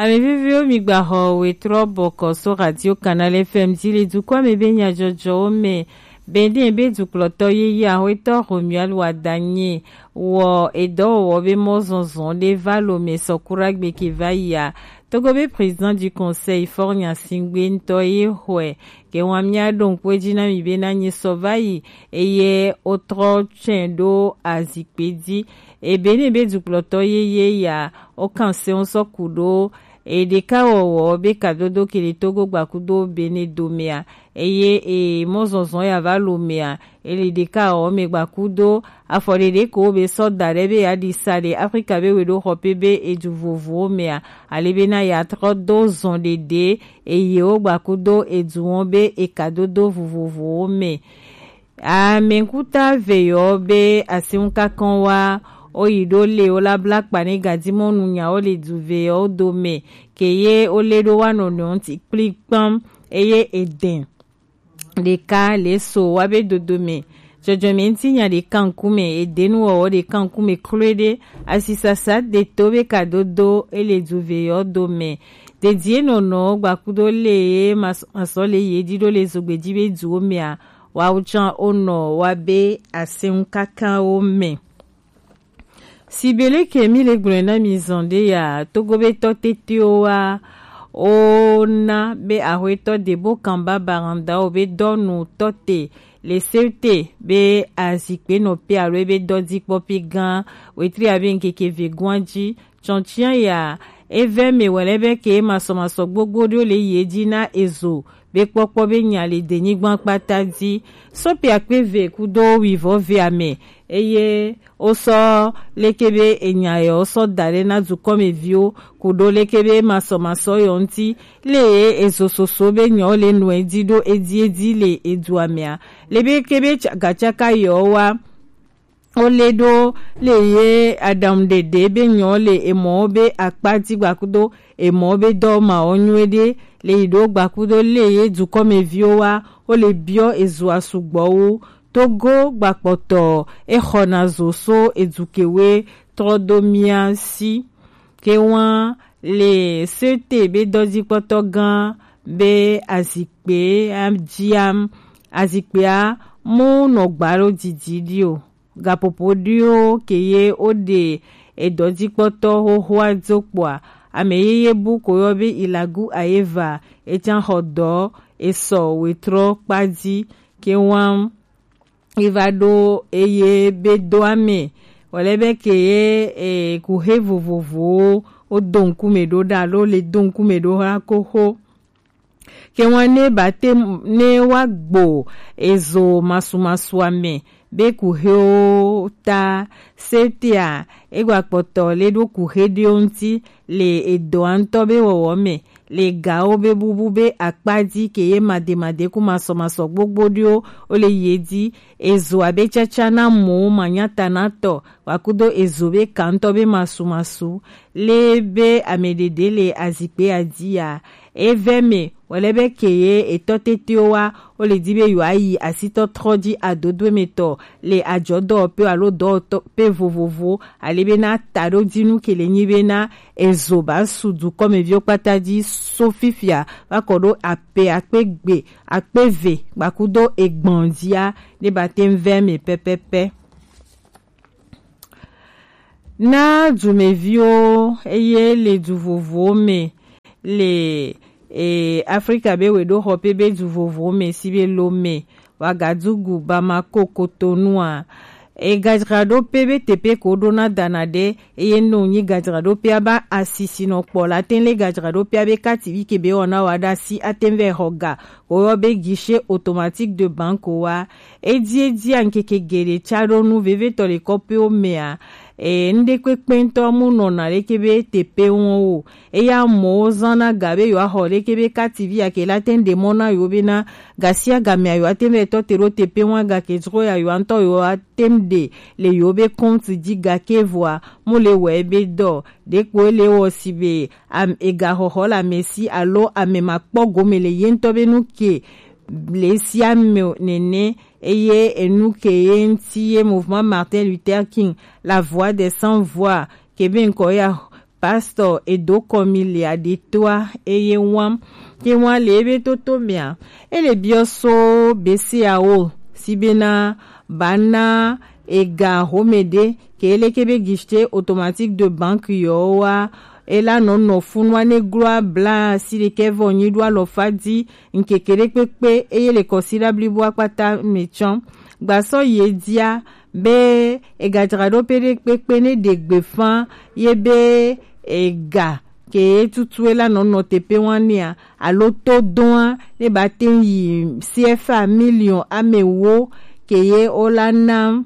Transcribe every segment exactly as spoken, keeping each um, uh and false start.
Ame viviwo, mi gba xɔ wetrɔ bɔkɔ so Radio Canal F M dzi le dukɔa me be nyadzɔdzɔwo me. Benin be dukplɔtɔ yeye Axwetɔ Romuald Wadagni wɔ edɔwɔwɔ be mɔzɔnzɔn ɖe va Lomé sɔ Kuragbe ke va yia. Togo be président du conseil Faure Gnassingbé ŋutɔ ye xɔe. Ke wan mía ɖo ŋkpɛ dzi na mi be na nyi sɔ va yi eye wotrɔ tsɛn ɖo azikpe dzi. Ebe ne be dukplɔtɔ yeye ya, wokan se wo sɔ ku ɖo eɖekawɔwɔ be kadodo ke le Togo gbakudo Benin domea, eye e mɔzɔnzɔn ya va Lomea, e le ɖekawɔwɔ me gbakudo afɔ ɖeɖe ko be sɔ da ɖe be ya ɖi sa ɖe Afrika be weɖoxɔpe be edu vovowo mea, ale be na ya trɔ do zɔn ɖeɖe eye wo gbakudo edu wɔn be ekadodo vovovowo me. Amɛkuta veyɔ be asiŋu kakɔn wa, wo yi ɖo le wo la bla kpa ne gadimɔnu nya wo le du veyɔ dome ke ye wo le ɖo wa nɔnɔewo ŋuti kplikpam eye edɛn ɖeka le so wa be dodo me. Dzɔdzɔme ŋutinya ɖeka ŋkume, edenuwɔwɔ ɖeka ŋkume kloe ɖe, asisasa de to be kadodo ele du veyɔ dome. Dedie nɔnɔ gbakudo le ye mas- masɔ le ye ɖi ɖo le zogbe dzi be duwo mea, wa wo tsã wo nɔ wa be asiŋu kakãwo me. Sibele ke mi le gblɔe na mi zɔn ɖe ya, Togo be tɔ tetewo wa wo na be Axwetɔ Debo Kamba Baranda wo be dɔnu tɔ te le sewte be azikpe nɔ pe alo ebe dɔdzikpɔpe gã wetri abe ŋkeke vegoa dzi. Tsɔntsia ya, evɛ me wɛlɛ be ke masɔmasɔ gbogbo ɖewo le yi edzi na ezo be kpɔkpɔ be nya le denyigba kpata dzi. Sɔpi akpe ve kudo wivɔ ve ame eye wo sɔ leke be enya yɔ wo sɔ da ɖe na dukɔmeviwo kudo leke be masɔmasɔ yɔ ŋuti le ye ezo soso be nyɔ le nɔ edzi ɖo edzi edzi le edua mea. Le be ke be tsa- gatsaka yɔ wa wo le ɖo le ye aɖaŋu ɖeɖe be nyɔ le emɔwo be akpa dzi gbakudo emɔwo be dɔ ma wo nyuie ɖe le yi ɖo gbakudo le ye dukɔmeviwo wa wo le biɔ ezoa sugbɔ wu. Togo gbakpɔtɔ exɔna zo so edukewe trɔ do mia si. Ke wan le sete be dɔdzikpɔtɔ gã be azikpe adziam azikpea mu nɔ gba ɖo didi ɖi o. Gapopo ɖiwo ke ye wo ɖe edɔdzikpɔtɔ xoxoa do kpɔa, ame yeye bu ko yɔ be Ilagu Ayeva, etsan xɔ dɔ esɔ wetrɔ kpa dzi ke wan eva ɖo eye be do ame wòle be ke ye e, kuxe vovovowo wo do ŋkume ɖo ɖa alo le do ŋkume ɖo la ko xo. Ke wan ne ba te ne wa gbo ezo masumasua me be kuxewo ta setea egba kpɔtɔ le ɖo kuxe ɖewo ŋuti le edɔa ŋutɔ be wɔwɔ me le gawo be bubu be akpa dzi ke ye mademade ku masɔmasɔ gbogbo ɖewo wo le ye dzi ezo abe tsatsa na mɔ manyata na tɔ wa kudo ezo be ka ŋutɔ be masumasu le be ame ɖeɖe le azikpe adzi ya. Evɛ me wòle be ke ye etɔ tetewo wa wo le di be yewoa yi asitɔtrɔ dzi adodo emetɔ le adzɔdɔwɔƒe alo dɔwɔƒe vovovo ale be na taɖodzinu ke le nyi be na ezo ba su dukɔmeviwo kpata dzi so fifia va kɔ ɖo ape akpe gbe akpe ve gbakudo egbɔn dzia ne ba te ŋu vɛ me pɛpɛpɛ. Na dumeviwo eye le du vovowo me le e, Afrika be weɖoxɔƒe be du vovowo me si be Lome, Wagadugu, Bamako, Kotonua. E gadzraɖoƒe be teƒe ko ɖona dana ɖe eye no nyi gadzraɖoƒea ba asisi nɔ kpɔ la te le gadzraɖoƒea be kati vi ke be wɔna wa ɖe asi ate ŋu vɛ xɔ ga woyɔ be guichet automatique de banque wa. Edi edi ankeke geɖe tsa ɖo nu vevetɔ le kɔƒewo mea, e, ŋɖekpekpe ŋutɔ mu nɔna leke be teƒe wɔn o. Eya mɔwo zãna ga be yewoaxɔ leke be kati vi ake la te ŋu ɖe mɔ na yewo bena gasiagamea yewoate ŋu vɛ tɔ te ɖo teƒe wɔn gake dzro ya yewoa ŋutɔ yewoate ŋu ɖe le yewo be compte dzi gake vɔa mu le wɔe be dɔ ɖekpo ele wɔ si be am, egaxɔxɔ le ame si alo ame makpɔ gome le ye ŋutɔ be nu ke le sia me nene eye enu ke ye ŋuti ye Mouvement Martin Luther King, la voix des sans voix, ke be ŋkɔ ya Pastor Edo Kɔmi le aɖetoa eye wam ke wan le ebe toto mea ele biɔ so besiawo si bena bana ega home ɖe ke ele ke be guichet automatique de banque yɔ wa ela nɔ nɔ funua ne gloa bla si ɖekɛ vɔ nyi ɖo alɔfa di ŋkeke ɖe kpekpe eye le kɔsiɖa blibo akpata me tsɔ gbasɔ ye dia be egadzraɖoƒe ɖe kpekpe ne ɖe gbefa ye be ega ke ye tutue la nɔ nɔ teƒe wan nea alo to doa ne ba te yi C F A million ame wo ke ye o la na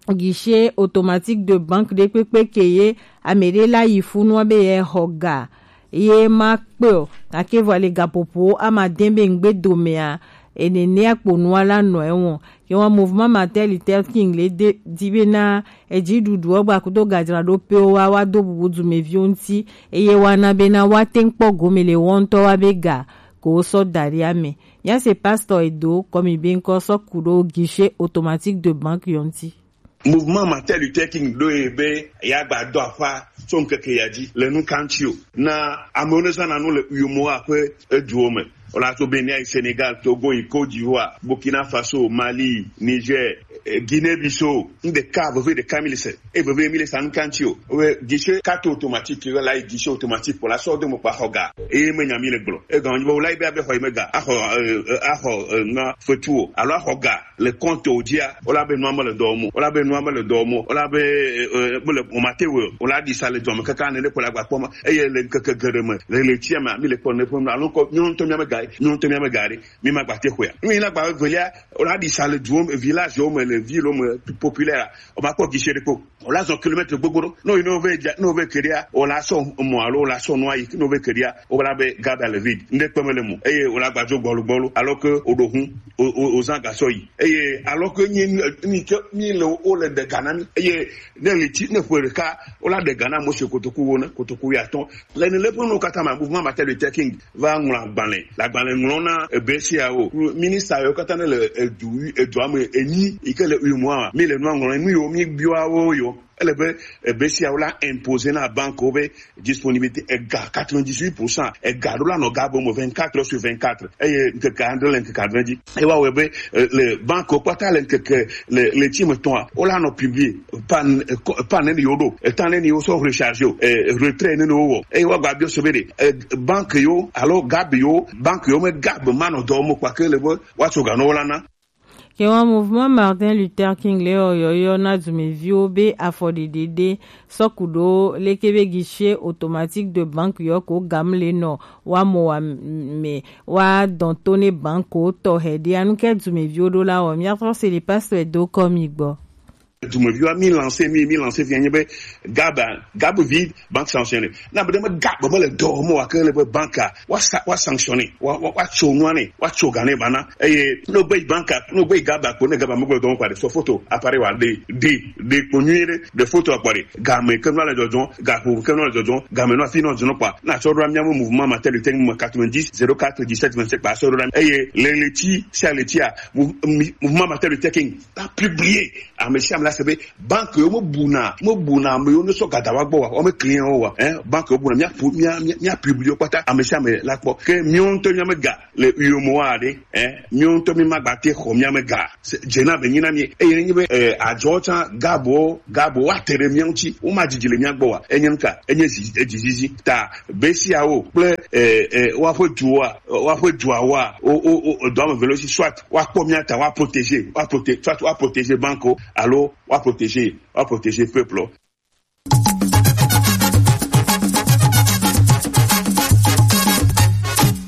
guichet automatique de banque ɖe kpekpe ke ye ame ɖe la yi funua be ye xɔ ga ye ma kpe o gake vɔ le gaƒoƒowo ama de be ŋgbe domea enenea kpo nua la nɔ ewɔ ke wa mouvement Martin Luther King le de di be na edzi ɖuɖuɔ gba kudo gadzraɖoƒewo wa wa do bubu dumeviwo ŋuti eye wa na be na wa te ŋkpɔ gome le wɔ ŋutɔ wa be ga ko wo sɔ da ɖi ame. Mía se pastor Edo Kɔmi be ŋkɔ sɔ ku ɖo guichet automatique de banque yɔ ŋuti. Mouvement Martin Luther King ɖo ye be ya gba do aƒa tso ŋkeke ya dzi le nu kan tsi o. Na amewo ne zãna nu le uyomo aƒe eduwo me. Wala tso Benin yi Senegal, Togo yi Côte d'Ivoire, Burkina Faso, Mali, Niger, eh, Guinée Bissau. Ŋɖeka veve ɖeka mi le se. E veve mi le sa nu kan tsi o. We guichet carte automatique la yi guichet automatique pour la sorte de mo pa xoga. E me nya mi le gblɔ. E gan wo la be abe xɔ yi me ga. Axɔ, eh, eh, axɔ, eh, na fetu o. Alo axɔ ga. Le compte wo dzia, wo la be nua me le dɔ mo, wo la be nua me le dɔ mo, wo la be, eh, eh, be le o ma te wo, wo la di sa le dɔ me kaka ne le ko la gba kpɔ ma, eye le ŋkeke geɖe me, le le tsia me, mi le kpɔ ne ƒe alo kɔ, nyɔnu to mia me ga, nyɔnu to mia me ga ɖe, mi ma gba te xɔa. Nu yi na gba velia, wo la di sa le duwo me, village wo me, le ville wo me, populaire, o ma kpɔ guichet ɖe kpɔ. O la zɔn kilomètre gbogbo ɖo. No yi no ve dza, no ve keɖia, o la sɔ mɔ alo o la sɔ nua yi, no ve keɖia, o la be gada le vide. Ŋɖe kpeme le mo. Eye o la gbadzo gbɔlu gbɔlu. Alors que o ɖo hun, o, o, o zã gasɔ yi. Eye alors que nyi, nyi ke, mi le o le de gana mi. Eye ne li ti, ne ƒe ɖeka, o la de gana mo se kotoku wo ne, kotoku ya tɔn. Le ne le ƒe no kata ma, mouvement Martin Luther King va ŋlɔ agbalẽ. Le agbalẽ ŋlɔ na ebe siawo. Minista yo kata ne le edu, edua me enyi, yi ke le uyo moa, mi le nua ŋlɔ, nu yo mi biwa wo yo. Ele be ebe siawo la imposer na banque wo be disponibilité ega quatre-vingt-dix-huit pour cent, ega ɖo la nɔ ga be mo vingt-quatre heures sur vingt-quatre. Eye ŋkeke adre le ŋkeke adre dzi. Ewa wɔe be, eh, le banque wo kpata le ŋkeke le, le tsi me tɔa, wo la nɔ publier. Pan, eh, ko-, pan neni yo ɖo, etan neni yo sɔ recharge o, eh, retrait neni wo wɔ. Eye wa gba biɔ se be ɖe, eh, banque yo, alo gab yo, banque yo me gab ma nɔ dɔ mo kpa ke le be, wa tso ga nɔ wo la na. Ke wa mouvement Martin Luther King le yɔyɔ na dumeviwo be afɔɖeɖe ɖe sɔ ku ɖo leke be guichet automatique de banque yɔ ko gam le nɔ wa mo wa me wa dɔn to ne banque wo tɔ hɛ ɖe anu ke dumeviwo ɖo la wɔ. Mia trɔ se le pasteur do kɔ mi gbɔ. Dumeviwa mi lancer, mi, mi lancer via nye be gab, gab vide, banque sanctionné. Na be ɖe me gab me le dɔ mo wa ke le be banque a, wa sa, wa sanctionné, wa, wa, wa tso nua ne, wa tso ga ne ba na. Eye no gbe banque a, no gbe gab a ko ne gab a me gbe dɔ mo kwa de so photo, appareil wa de, de, de ko nyui de, de photo a kwa de. Ga me ke no le dɔdɔn, ga ko ke no le dɔdɔn, ga me no fi no dɔdɔn kwa. Na so do mi mo mouvement Martin Luther King mo quatre-vingt-dix, zéro quatre, dix-sept, vingt-sept pa so do. Eye le le ti, sa le ti a, mou-, mi-, mouvement Martin Luther King a publié. Ame sia ame la se be banque yo me buna, me buna ame yo ne sɔ gada wa gbɔ wa, wo me client wo wa, hein, banque yo buna, mia pu-, mia, mia, mia publié kpata, ame sia ame la kpɔ. Ke miwo ŋutɔ mia me ga le uyo mo wa ɖe, hein, miwo ŋutɔ mi ma gba te xɔ mia me ga. Se-, dze na be nyi na mi, eye ne nyi be, eh, adzɔ tsã gabo, gabo wa te ɖe mia ŋuti, wo ma dzidzi le mia gbɔ wa, enye nuka, enye zi-, edzi zizi. Ta be siawo kple, eh, eh, woaƒe duwoa, woaƒe duawoa, wo, wo, wo, edɔ ame eve le wo si, soit woakpɔ mía ta, woaprotégé, woaproté-, soit woaprotégé banque wo, alo woaprotégé, woaprotégé peuple wo.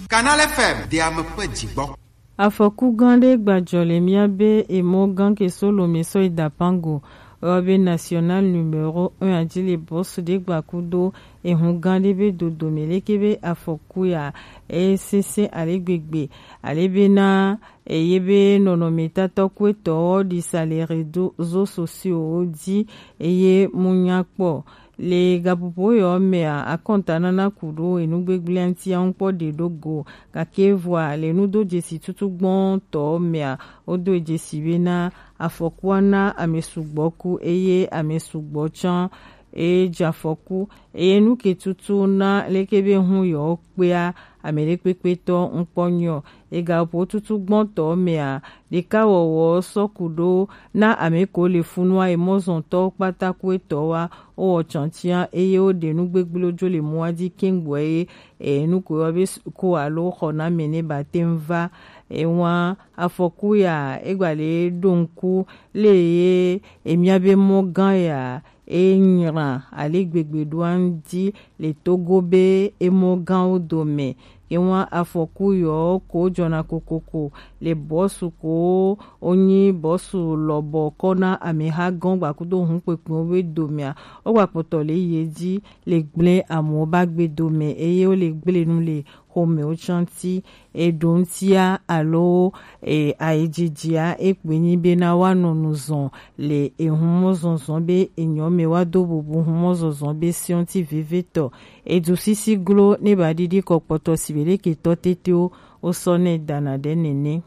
Canal F M, de ame ƒe dzigbɔ. Afɔku gã ɖe gbadzɔ le mía be emɔ gã ke so lome sɔ yi Dapango, ewɔ be national numéro un adzi le bɔsu ɖe gba kudo ehu gã ɖe be dodome leke be afɔku ya esese ale gbegbe ale be na eye be nɔnɔmetatɔ kuetɔ ɖisa le réseaux sociaux dzi eye mu nya kpɔ. Le gaƒoƒo yɔ mea, akɔntanana ku ɖo enugbegblẽa ŋuti aŋkpɔ ɖe ɖo go, gake vɔa le nudo dzesi tutu gbɔtɔ mea, wodo dzesi bena afɔkua na ame sugbɔ ku eye ame sugbɔ tsã E ja afɔku, eye nu ke tutu na leke be hun yewo kpea ame ɖekpekpe tɔ ŋkpɔ nyɔ. Ega ƒo tutu gbɔntɔ mea, ɖeka wɔwɔ sɔ ku ɖo na ame ko le funua, e mɔzɔntɔ kpata ku etɔ wa, o wɔ chantia, eye o ɖe nu gbegble jo le mua di kengboe, e nu ko yɔ be s-, ko alo xɔ na me ne ba te ŋu va. E wa afɔku ya, e gba le ɖo ŋku le ye, e mia be mɔ gã ya, e nyra ale gbegbe ɖo aŋdi le Togo be emɔ gãwo dome. Ye wa afɔku yɔ ko jɔna kokoko le bɔsu ko wonyi bɔsu lɔbɔ kɔ na ameha gɔn gbakudo hun kpekpewo be domea, wo gba kpɔtɔ le ye di le gble amewo ba gbe dome, eye wo le gble nu le xɔmewo tsanti. Eɖo ŋutia alo e, ayidjidjia, ekpe nyi bena woanɔ nu zɔn le ehun mɔzɔnzɔn be enyɔ me, woado bubu hun mɔzɔnzɔn be siɔnti vevetɔ. Edu sisi glo ne ba ɖiɖi kɔ kpɔtɔ sibe ɖeke tɔ tetewo wosɔ nɛ dana ɖe nene.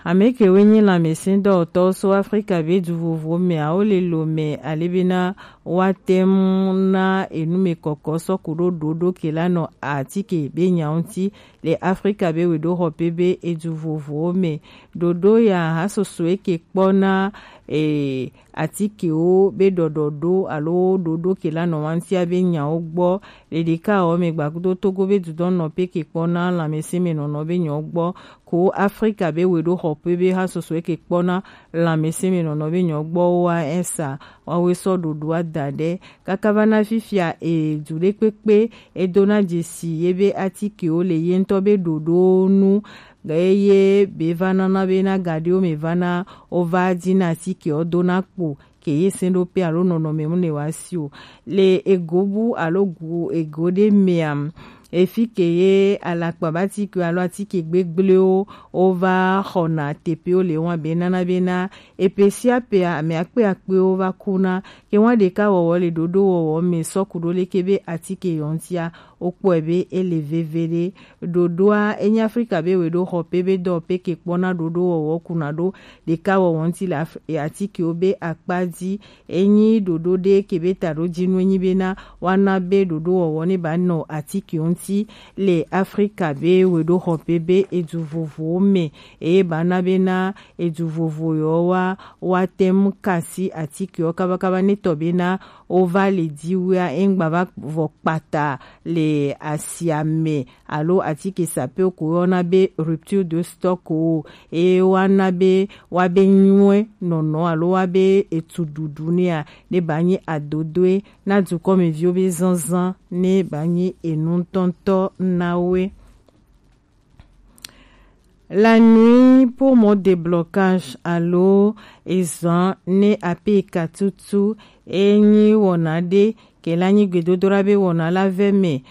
Ame kewo nyi lanmɛsindɔwɔtɔwo so Afrika be du vovowo mea, wo le lo mɛ ale bena woate ŋu na enumɛkɔkɔ sɔ ku ɖo ɖoɖo ke la nɔ atike be nya ŋuti le Afrika be weɖoxɔpe be edu vovowo mɛ. Ɖoɖo ya ha soso eke kpɔ na e, atikewo be ɖɔɖɔ ɖo alo ɖoɖo ke la nɔ wantia be nyawo gbɔ. Le ɖeka wɔ mɛ gbakudo Togo be dudɔnɔ pe ke kpɔ na lanmɛsɛnmɛnɔnɔ be nyawo gbɔ. Ko Afrika be weɖoxɔpe be ha soso eke kpɔ na lanmɛsɛnmɛnɔnɔ be nyawo gbɔ wa esa. Wawe sɔ ɖoɖoa da ɖe. Kaka va na fifia e, du ɖekpekpe e do na dzesi ye be atikewo le ye ŋutɔ be ɖoɖo nu. Eye be va nana be na gaɖewo me va na wo va dzi na atikewo do na kpo ke ye sɛn ɖo pe alo nɔnɔme mu ne wa si o. Le ego bu alo gu ego ɖe mea, efi ke ye alakpa ba atike alo atike gbegblẽwo wo va xɔna teƒewo le wa be nana bena epe sia pea ame akpe akpewo va kuna. Ke wa ɖeka wɔwɔ le ɖoɖo wɔwɔ me sɔ ku ɖo leke be atike yɔ ŋutia, wokpɔe be ele veve ɖe. Ɖoɖoa enyi Afrika be weɖoxɔpe be dɔwɔpe ke kpɔna ɖoɖo wɔwɔ kuna ɖo ɖeka wɔwɔ ŋuti le Af-, atikewo be akpa dzi. Enyi ɖoɖo ɖe ke be taɖodzinu enyi bena woana be ɖoɖowɔwɔ ne ba nɔ atikewo ŋuti le Afrika be weɖoxɔpe be edu vovowo me, eye ba na bena edu vovo yewo wa, woate ŋu kasi atikewo kabakaba ne tɔ bena wova le diwea, eŋgba va vɔ kpata le asia me alo atike sapewo ko woyɔna be rupture de stock o, eye woana be woabe nyuie nɔnɔ alo woabe etu ɖuɖu nɛa, ne ba nyi adodoe na dukɔmeviwo be zazã, ne ba nyi enu ŋutɔŋutɔ na woe. La nuit pour mon déblocage alo ezan ne ape katutu enyi wɔna ɖe ke la nyi gbedodoɖa be wɔna la vɛ me.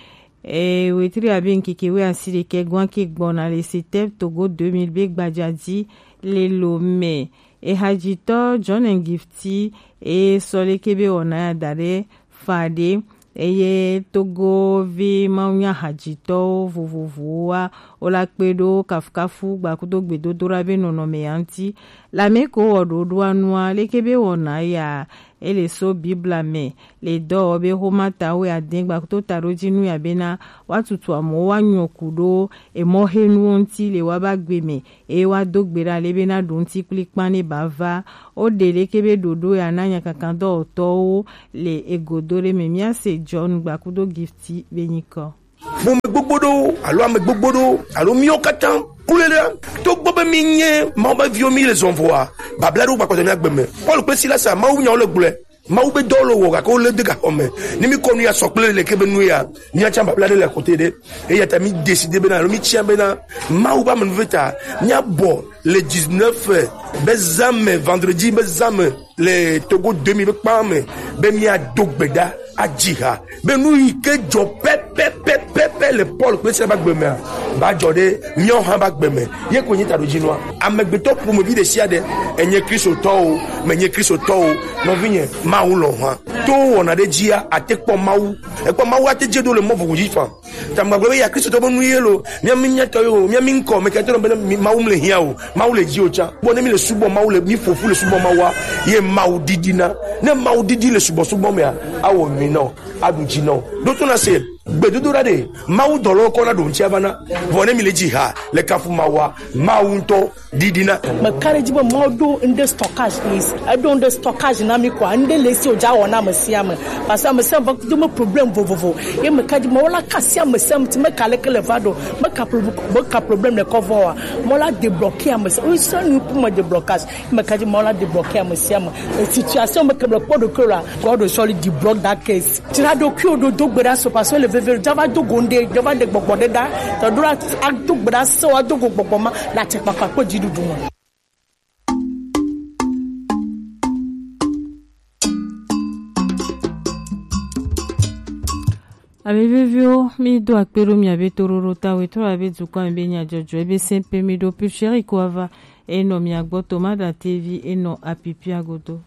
E, wetri abe ŋkeke wɛ asi ɖekɛ gwan ke gbɔna le Setɛb Togo deux mille be gbadza dzi le lo me. Ehadzitɔ John and Gifty e sɔ leke be wɔna ya da ɖe fa ɖe, eye Togovi mawunya hadzitɔwo vovovowoa, wo la kpe ɖo kafukafu gbakudo gbedodoɖa be nɔnɔme ya ŋuti. Lame ko wɔ ɖoɖoa nua, leke be wɔna ya, ele so Bibla me, le dɔwɔ be Xomata wɛ ade gbakudo taɖodzinu ya bena, woatutu amewo woanyɔ ku ɖo emɔxenuwo ŋuti le woaba gbe me, eye woado gbe ɖa le bena ɖo ŋuti kplikpan ne ba va. Woɖe leke be ɖoɖo ya na nyakakan dɔwɔtɔwo le egodo ɖe me. Míase John gbakudo Gifty be nyikɔ. Ƒome gbogbo ɖewo alo ame gbogbo ɖewo alo míwo katã kule ɖe, togbɔ be mínye Mawu be viwo mí le zɔn vɔa, babla ɖewo gbakpɔtɔ mía gbe me. Paul kple Silas, Mawu nyawo le gblɔe. Mawu be dɔwo le wɔ gake wo le de gaxɔ me. Ne mí kɔ nu ya sɔ kple leke be nu ya, mía tsã babla ɖe le kote ɖe. Eya ta mí décidé bena alo mí tia bena Mawu be amenuveve ta mía bɔ le dix-neuf be zã me, vendredi be zã me le Togo deux mille be kpa me be mía do gbe ɖa adzi ha be nu yi ke dzɔ pɛpɛpɛpɛpɛ Pe le Paul kple Sila ba gbe mea, ba dzɔ ɖe míawo hã ba gbe me. Ye ko nyi taɖodzinua. Amegbetɔ ƒomevi ɖe sia ɖe, enye Kristotɔ o, menye Kristotɔ o, nɔvinye, Mawu lɔ̃ hã. To wɔna ɖe dzia, ate kpɔ Mawu. Ekpɔ Mawu ate dze ɖo le mɔ vovo dzi fam. Tamegbagblɔ be ya Kristotɔ be nu ye lo, mía mi mía tɔ yo, mía mi ŋkɔ, me kɛtɔ be mi- Mawu mle hiã o, Mawu le dzi o tsã. Bɔ ne mi le subɔ Mawu le, mi ƒoƒu le subɔ Mawua, ye Mawu didina. Ne Mawu didi le subɔsubɔ mea, awɔ nyui nɔ, aɖu dzi nɔ. Ɖo to na se, gbedodoɖa ɖe, Mawu dɔlɔ kɔ na ɖo ŋuti ava na. Vɔ ne mi le dzi ha, le kafu Mawua, Mawu ŋutɔ didina. Meka ɖe edzi be Mawu ɖo ŋɖe stockage is, eɖo ŋɖe stockage na mi kɔa, ŋɖe le esi wòdza wɔ na ame sia ame. Parce que ame sia ame va do me problème vovovo. Ye meka ɖe edzi Mawu la ka asi ame sia ame ti meka leke le va ɖo, meka pro- meka problème le kɔ vɔ wa. Mawu la débloquer ame sia, ame sia nu pour me déblocage. Meka ɖe edzi Mawu la débloquer ame sia ame. E situation me ke le kpɔ ɖokui la, God will surely deblock that case. Dzra ɖokuiwò ɖo, do gbe ɖa se, parce que le veve, dza va do go ŋɖe, dza va ɖe gbɔgbɔ ɖe ɖa. Tɔ ɖo la, ado gbe ɖa se, ado go gbɔgbɔ ma, le atikpakpa kple dziɖuɖu me. Ame veviwo, mi do akpe ɖo mia be toɖoɖo ta, wetro abe dukɔ ame be nya dzɔdzɔ, ebe sɛn pe mi ɖo pulpérico ava, enɔ mia gbɔ tomada tevi, enɔ apipia godo.